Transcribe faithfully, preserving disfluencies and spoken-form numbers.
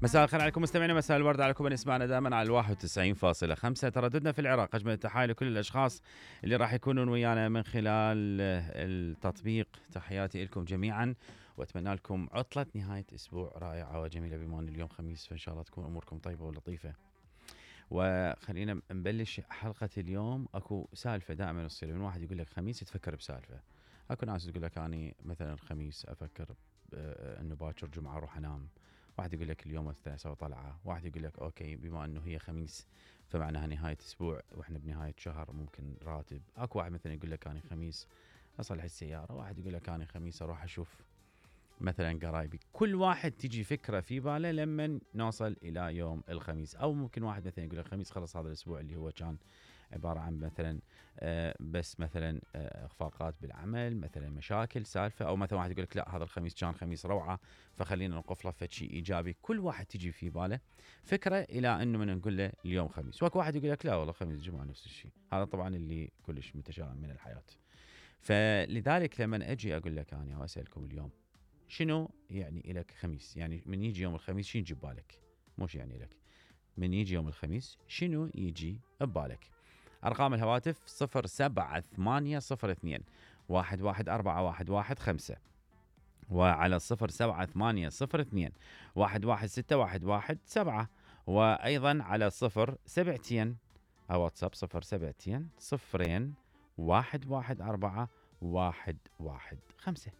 مساء الخير عليكم مستمعينا، مساء الورد عليكم من يسمعنا دائما على الواحد وتسعين فاصلة خمسة ترددنا في العراق. أجمل التحايا لكل الأشخاص اللي راح يكونون ويانا من خلال التطبيق. تحياتي لكم جميعا وأتمنى لكم عطلة نهاية أسبوع رائعة وجميلة، بما أن اليوم خميس فإن شاء الله تكون أموركم طيبة ولطيفة. وخلينا نبلش حلقة اليوم. أكو سالفة دائما تصير من واحد يقول لك خميس تفكر بسالفة. أكو ناس تقول لك أني مثلا الخميس أفكر أنه باكر جمعة أروح أنام. واحد يقول لك اليوم مثلا اسوي طلعه. واحد يقول لك اوكي بما انه هي خميس فمعناها نهايه اسبوع واحنا بنهايه شهر ممكن راتب. اكو واحد مثلا يقول لك انا خميس اصلح السياره. واحد يقول لك انا خميس اروح اشوف مثلا قرايبي. كل واحد تجي فكره في باله لما نوصل الى يوم الخميس. او ممكن واحد مثلا يقول لك خميس خلص هذا الاسبوع اللي هو كان عباره عن مثلا آه بس مثلا آه اخفاقات بالعمل، مثلا مشاكل سالفه. او مثلا واحد يقول لك لا هذا الخميس كان خميس روعه فخلينا نوقف له فد شيء ايجابي. كل واحد تجي في باله فكره الى انه من نقول له اليوم خميس. واكو واحد يقول لك لا والله خميس جمعه نفس الشيء. هذا طبعا اللي كلش متشائم من الحياه. فلذلك لما اجي اقول لك انا واسالكم اليوم شنو يعني لك خميس، يعني من يجي يوم الخميس شنو يجي ببالك؟ مش يعني لك من يجي يوم الخميس شنو يجي ببالك؟ أرقام الهواتف صفر سبعة ثمانية صفر اثنين واحد واحد أربعة واحد واحد خمسة، وعلى صفر سبعة ثمانية صفر اثنين واحد واحد ستة واحد واحد سبعة، وأيضا على صفر سبعتين أو واتساب صفر سبعتين صفرين واحد واحد أربعة واحد واحد خمسة.